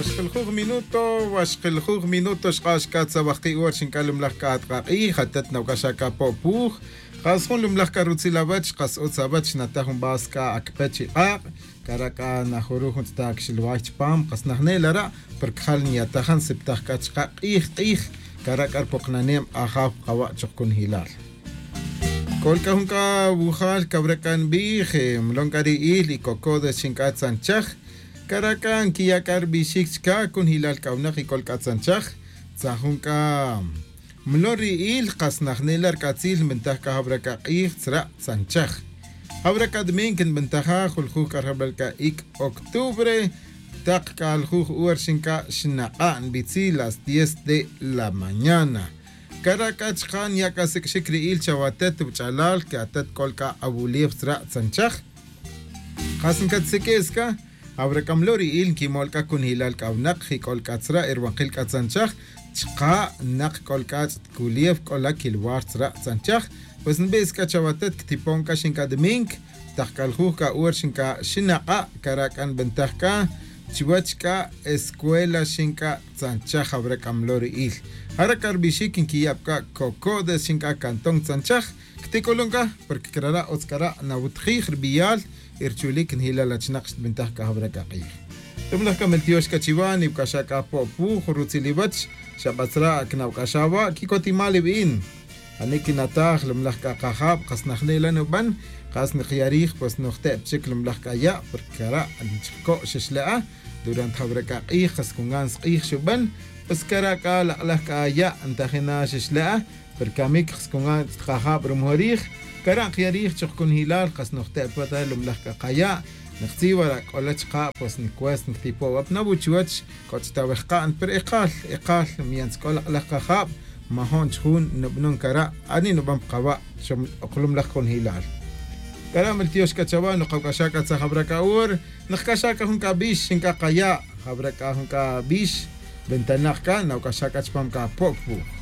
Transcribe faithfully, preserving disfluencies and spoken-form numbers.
Xkiljuj minuto, wa xkiljuj minuto xk'ax k'a tzawajki' hora xink'a' lumlaj k'a atk'aq'ij atat nawk'axa' k'a po'puj. Qas jun lumlaj k'a rutzil awach qas utz awach xnataj jun b'as k'a akpe chi q'aq'. Kara' k'a najuruj jun tz'ita' kixilway chipam qas najnel ara', porque jal nyatajan siptaj k'a chaq'a' q'ij q'ij. Kara' k'a rupoqnaneb' ajaw qawa' chuq kunjilal. K'ol k'a jun k'a wujal kawra' k'a nb'ij, mlon k'a ri il y kokodes xink'a' tzanchaj. Kara' k'a nkiya' k'a rb'ixik chka' kunjilal k'a winaq y k'ol k'a tzanchaj. Tzajun k'a mlon ri il qas najnel la' rk'atzil nb'antaj k'a jawra' k'a q'ij tzra' tzanchaj. Jawra' k'a dmink nb'antaja juljuj k'a rjab'al k'a ik' octubre. Taq k'a aljuj hora xink'a' xnaq'a' nb'itzil las diez de la mañana. Kara' k'a chqa' nya' k'a sik'xik ri il chawatet wach'alal que atet k'ol k'a awulew tzra' tzanchaj. Qas nkatsik'is k'a, awra' k'a mlo ri il nkimol k'a kunjilal k'a winaq jik'ol k'a tzra' y rwanqil k'a tzanchaj. Chqa' naq k'ol k'a ch'it kulew k'ola kilwar tzra' tzanchaj. Pues nb'is k'a chawatet ktipon k'a xink'a' dmink. Taq k'a aljuj k'a hora xink'a' xinaq'a' kara' k'a nb'antaj k'a chiwach k'a escuela xink'a' tzanchaj jawra' k'a mlo ri il. Jara' k'a rb'ixik nkiya' pa k'a kokodes xink'a' cantón tzanchaj. Ktik'ulun k'a porque k'ara' utz k'ara' nawutjij rb'iyal y rchulik njilal achinaq xtb'antaj k'a jawra' k'a q'ij. Tumlaj k'a meltiox k'a chiwa niwk'axa' k'a po'puj rutzil iwach. Xa b'atzra' kinawk'axa' wa' kikotimal ib'in. Ani' kinataj lumlaj k'a qajab' qas najnel la' nub'an. Qas niqya' rij pues nojte' pa chik lumlaj k'a ya' porque kara' nchiko' xixle'a. Durante jawra' k'a q'ij qas kungan sq'ij xub'an. Pues kara' k'a laq'laj k'a ya' ntajina xixle'a. Pero kamik qas kungan ch'it qajab' rumojol rij. Kara' nqya' rij chuq kunjilal qas nojte' pa ta lumlaj k'a qaya'. Niqtzij wara' k'ola chqa' pues nikwest nktipo' wa' pa nawu' chiwach. K'o ch'it aweqa'n pero eqal eqal. Mientras k'o laq'laj qajab' majo'n chjun nub'anon kara'. Ani' nub'an pa qawa' xom oqlumlaj kunjilal. Kara' meltiox k'a chawa' nokawk'axa' k'a tzaj jawra' k'a hora. Nokawk'axa' k'a jun k'a b'ix xink'a' qaya'. Jawra' k'a jun k'a b'ix. B'entanaj k'a nawk'axa' k'a chipam k'a po'k wuj.